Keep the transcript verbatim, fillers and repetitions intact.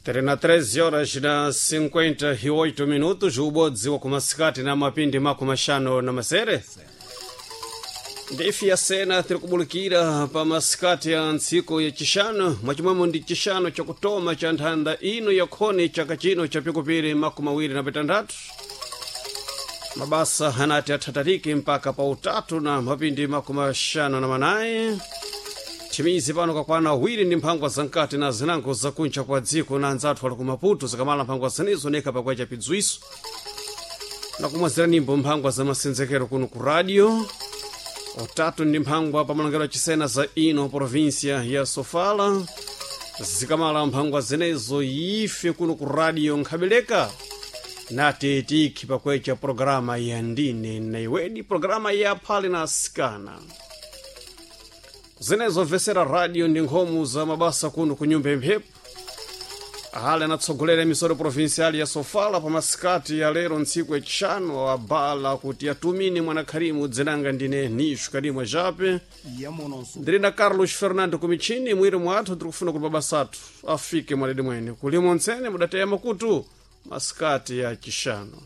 Tiri na treze horas na cinquenta e oito minutos, ubodzi wa kumasikati na mapindi makumi axano na masere. Ndifi ya sena tiri kubulikira pa masikati ya ntsiku ya chixano, mwachimwemo ndi chixano chakutoma cha nthanda ino yakhoni chaka chino cha pikupiri makumi awiri na pitanthatu. Mabasa anati athatarike mpaka pa utatu na mapindi makumi axano na manayi. Thimizi pano kakwana awiri ndi mphangwa zamkati na zinango zakunja kwa dziko na anzathu ali ku Maputo, zikamala mphangwa zanizo nekha pakwacha pidzwiso na kumwazira nimbo mphangwa za masenzekero kuno ku radio. Utatu ndi mphangwa pa malongero achisena za ino província ya Sofala, zikamala mphangwa zenezo ife kuno ku radio nkhabeleka nati tikhi pakwecha programa ya Ndine na Iweni, programa ya phale na asikana. Zenezo vesera radio ndi nkhomo za mabasa kuno ku nyumba imphepo. Ahali anatsogolera emisoro provincial ya Sofala pa masikati ya lero ntsiku yachixano abala kuti atumine mwana Kharimu. Dzinanga ndine Nishu Karimu Ajape, ndiri na Carlos Fernando kumichini mwiri mwathu. Tiri kufuna kuti mabasa athu afike mwaledi mwene kulimo ntsene mudateya makutu masikati ya chixano.